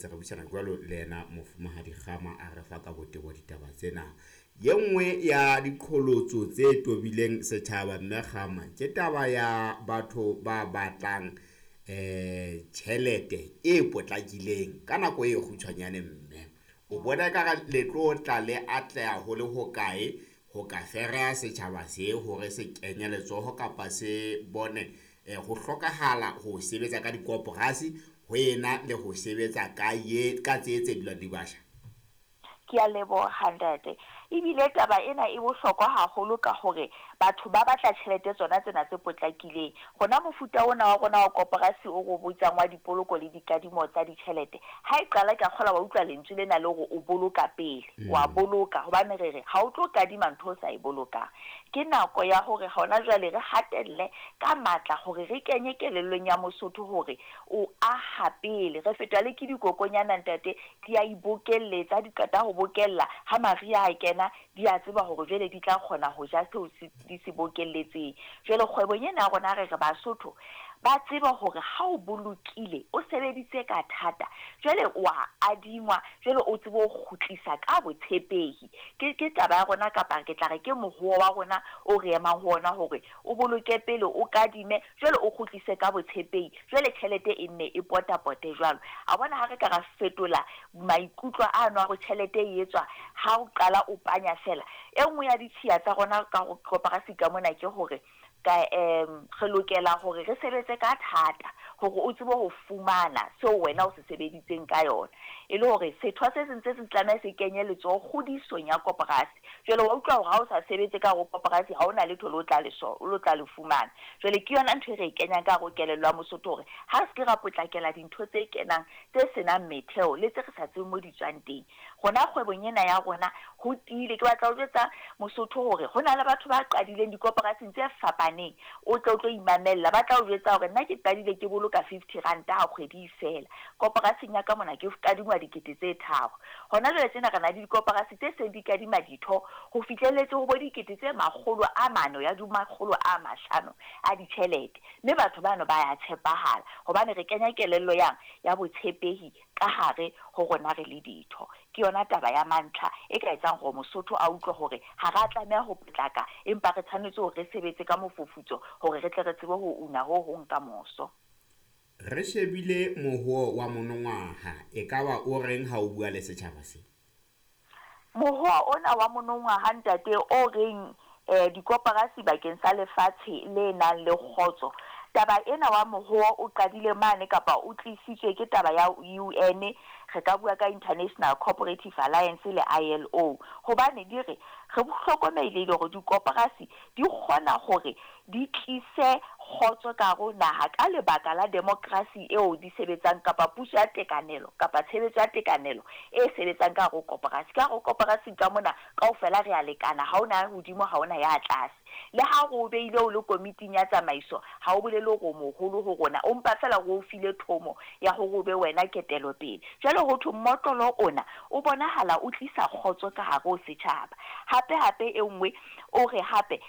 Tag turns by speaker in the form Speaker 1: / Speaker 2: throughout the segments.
Speaker 1: Ntse re buisana jwalo le yena Mofumahadi Kgama a re fa ka botebo ditaba tsena. Ye nngwe ya diqholotso tse tobileng setjhaba mme Kgama ke taba ya batho ba batlang tjhelete e potlakileng ka nako e kgutshwanyane mme. O bona ekare le tlo tla le atleha ho le hokae ho ka fereha setjhaba se hore se kenye letsoho kapa se bone ho hlokahala ho sebetsa ka dikoporasi ho ena le ho sebetsa ka ye ka tse tse dulang di basha?
Speaker 2: Ke a leboha ntate. Ebile taba ena e bohlokwa haholo ka hore batho ba batla tjhelete tsona tsena tse potlakileng. Rona mofuta ona wa rona wa koporasi o re o botsang wa dipoloko le dikadimo tsa ditjhelete, ha e qala ke a kgolwa wa utlwa lentswe lena le hore o boloka pele, wa boloka hobane re re ha o tlo kadima ntho o sa e bolokang. Ke nako ya hore hona jwale re hatelle ka matla hore re kenye kelellong ya Mosotho hore o aha pele. Re fetwa le ke dikokonyana ntate, di a ibokelletsa, ha di qeta ho bokella, ha mariha a kena di a tseba hore jwale di tla kgona ho ja seo di se bokelletseng. Jwale kgwebong ena ya rona re re Basotho ba tsebe hore ha o bolokile, o sebeditse ka thata, jwale wa adingwa, jwale o tsebe ho kgutlisa ka botshepehi. Ke taba ya rona kapa ke tla re ke mohoo wa rona o re emang ho ona hore o boloke pele, o kadime, jwale o kgutlise ka botshepehi, jwale tjhelete e nne e potapote jwalo. A bona ha re ka ra fetola maikutlo ano a hore tjhelete e etswa ha o qala o panya fela. E nngwe ya ditshiya tsa rona ka ho koporasi ka mona ke hore ka re lokela hore re sebetse ka thata hore o tsebe ho fumana seo wena o se sebeditseng ka yona. E le hore setho se seng se seng se tlameha se kenye letsoho kgodisong ya koporasi. Jwale wa utlwa hore ha o sa sebetse ka hare ho koporasi ha hona letho le o tla le so o tla le fumana. Jwale ke yona ntho e re e kenyang ka hare ho kelello ya Mosotho hore ha re se ke ra potlakela dintho tse kenang tse senang metheo le tse re sa tsebeng mo di tswang teng. Rona kgwebong ena ya rona ho tiile. Ke batla ho jwetsa Mosotho hore ho na le batho ba qadileng dikoporasing tse fapaneng, o tle o tlo imamella. Ba tla o jwetsa hore nna ke qadile ke boloka 50 ranta ha kgwedi e fela. Koporasing ya ka mona ke kadingwa dikete tse tharo. Hona jwale tjena re na le dikoporasi tse seng di kadima ditho ho fihlelletse ho bo dikete tse 400 ya di 500 a ditjhelete. Mme batho bano ba ya tshepahala hobane re kenya kelello yang ya botshepehi ka hare ho rona re le ditho. Ke yona taba ya mantlha e ka etsang hore Mosotho a utlwe hore ha re a tlameha ho potlaka, empa re tshwanetse hore re sebetse ka mofufutso hore re tle re tsebe ho una ho hong ka moso.
Speaker 1: Re shebile mohoo wa monongwaha, ekaba o reng ha o bua le setjhaba se?
Speaker 2: Mohoo ona wa monongwaha ntate o reng dikoporasi bakeng sa lefatshe le nang le kgotso. Taba ena wa mohoo o qadile mane kapa o tlisitswe ke taba ya UN, re ka bua ka International Cooperative Alliance le ILO. Hobane di re re hlokomelehile hore dikoporasi di kgona hore di tlise kgotso ka hare ho naha ka lebaka la demokrasi eo di sebetsang kapa puso ya tekanelo kapa tshebetso ya tekanelo e sebetsang ka hare ho koporasi. Ka hare ho koporasi ka mona kaofela re a lekana, ha hona ya hodimo ha hona ya tlase. Le ha re o beile o le komiting ya tsamaiso, ha o bolele hore o moholo ho rona, o mpa fela re o file thomo ya hore o be wena ketelopele. Jwale ho thwe mmotlolo ona o bonahala o tlisa kgotso ka hare ho setjhaba. Hape hape e nngwe o re hape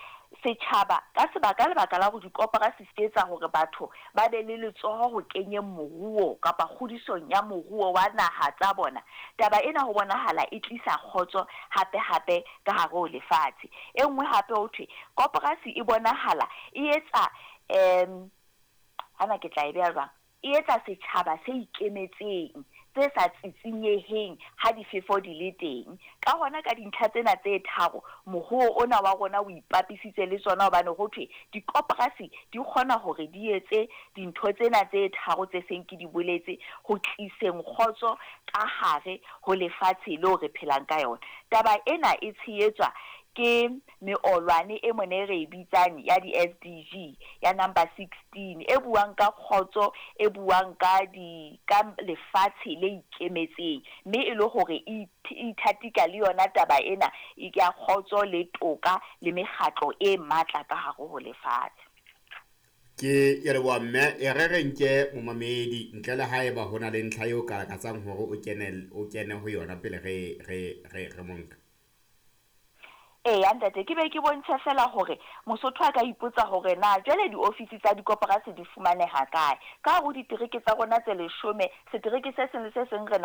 Speaker 2: setjhaba ka sebaka lebaka la hore dikoporasi se etsa hore batho ba be le letsoho ho kenyeng moruo kapa kgodisong ya moruo wa naha tsa bona. Taba ena ho bonahala e tlisa kgotso hape hape ka hare ho lefatshe. E nngwe hape ho thwe koporasi e bonahala e etsa hana ke tla e beha jwang? E etsa setjhaba se ikemetseng, tse sa tsitsinyeheng ha difefo di le teng. Ka hona ka dintlha tsena tse tharo, mohoo ona wa rona o ipapisitse le tsona hobane ho thwe dikoporasi di kgona hore di etse dintho tsena tse tharo tse seng ke di boletse ho tliseng kgotso ka hare ho lefatshe leo re phelang ka yona. Taba ena e tshehetswa ke meolwane e mona e re e bitsang ya di-SDG ya number 16 e buang ka kgotso, e buang ka di ka lefatshe le ikemetseng, mme e le hore e ithatika le yona taba ena ya kgotso le toka le mekgatlo e matla ka hare ho lefatshe.
Speaker 1: Ke ya leboha mme, e re re nke momamedi ntle le haeba ho na le ntlha eo ka lakatsang hore o kene ho yona pele re re re re monka.
Speaker 2: Eya ntate, ke be ke bontshe fela hore Mosotho a ka ipotsa hore na jwale diofisi tsa dikoporasi di fumaneha kae. Ka hare ho ditereke tsa rona tse 10, setereke se seng le se seng re na